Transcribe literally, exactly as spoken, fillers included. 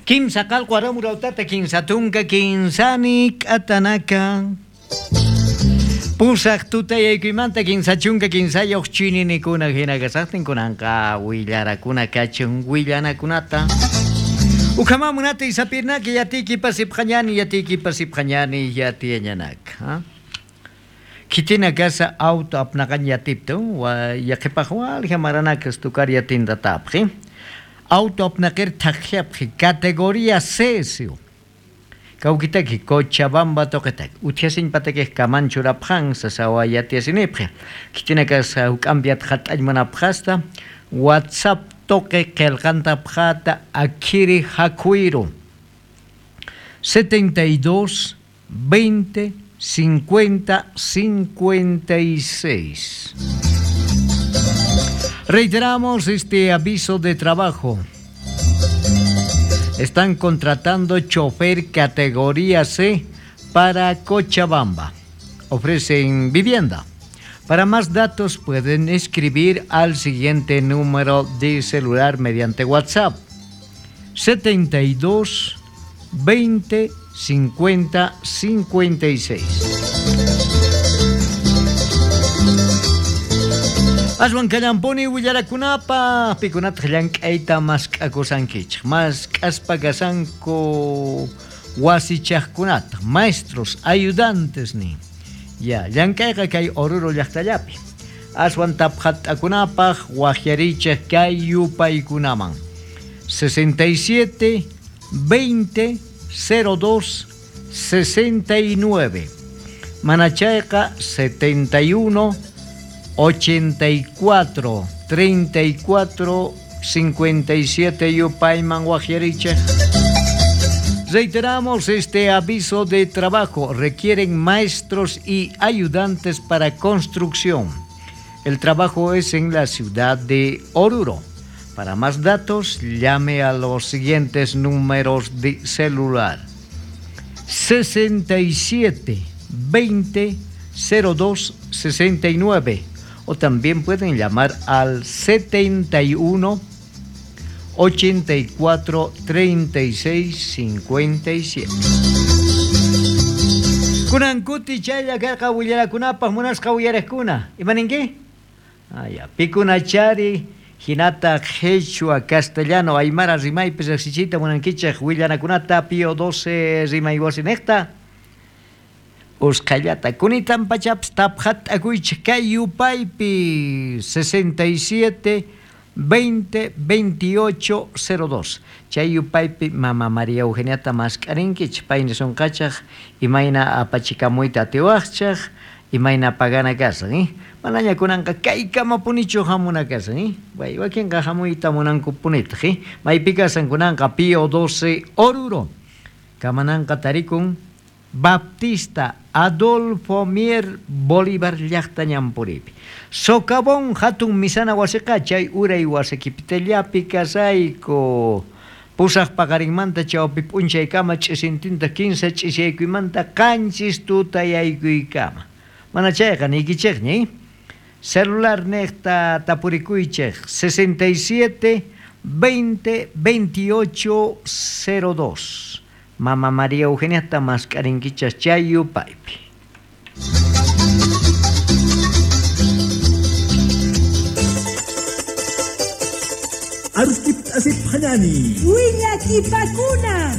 Kimsa qalqu aramurautata kinsa tunka kinsani k'atanaka. Pusaq tutayaykuymanta kinsa chunka kinsayuq chininikuna hina kasaqtin kunanqa willarakuna kachun willanakunata. Ukhamamunata isapirnaki yatiki pasipqañani yatiki pasipqañani yatiyañanaka. Kitina kasa auto apnaqan yatipta wa yaqipaq walja maranakas tukar yatinda tapqi. Auto apnaqir thaqllapqi categoría C siu. Kawkitaki Cochabamba toqetaki uthiasin pataki kamanchurapqan sasawa yatiasinipqi. Kitina kasa huk'ampiat hat'allmanapqasta WhatsApp toqe qillqantapqata akiri hakuiru setenta y dos veinte cincuenta cincuenta y seis. Reiteramos este aviso de trabajo. Están contratando chofer categoría C para Cochabamba. Ofrecen vivienda. Para más datos pueden escribir al siguiente número de celular mediante WhatsApp: setenta y dos veinte cincuenta cincuenta y seis. Aswan kallampuni willarakunapa pikunata llank'ayta mask'akusankichik mask'aspa kasanku wasichaqkunata maestros ayudantes nin ya llank'ayqa kay Oruro llaqtallapi aswan taphat'akunapaq waqyarichik kay yupaykunaman sesenta y siete veinte cero dos sesenta y nueve manachayqa setenta y uno ochenta y cuatro treinta y cuatro cincuenta y siete yupayman waqyarichik. Reiteramos este aviso de trabajo. Requieren maestros y ayudantes para construcción. El trabajo es en la ciudad de Oruro. Para más datos, llame a los siguientes números de celular: sesenta y siete veinte cero dos sesenta y nueve o también pueden llamar al setenta y uno ochenta y cuatro treinta y seis cincuenta y siete. Kunankuti chaylla karqa willarakunapaq munasqa uyariqkuna. Imaninki? Ah, ya. Pikunachari hinata quechua castellano aymara rimaypi riqsichiyta munankichik willanakunata Pío doce rimay wasinejta. Usqhayllata kunitan pachapas taphat'akuychik kay yupaypi sesenta y siete veinte veintiocho cero dos. Chay yupaypi mama María Eugeniata mask'arinkichik payni sunqachaq imayna apachikamuyta atiwaqchaq imayna pagana kasan eh? Manaña kunanqa kaykamapunichu hamuna kasan eh? Way wakinqa hamuyta munankupunitaq eh? Maypi kasan kunanqa Pío doce Oruro kamananqa tarikun Baptista Adolfo Mier Bolívar llaqta ñampuripi. Socavón hatun misana wasiqa chay uray wasikipitallapi kasayku. Pusaq paqarinmanta chawpi p'unchaykama ch'isintinta kinsa ch'isyaykuymanta qanchis tutayaykuykama. Mana chayqa niykichikñi. Celular niqta tapurikuychik sesenta y siete veinte veintiocho cero dos. Mama María Eugenia mask'arinkichas chay yupaypi. Arukip asipqañani. Willakipakuna.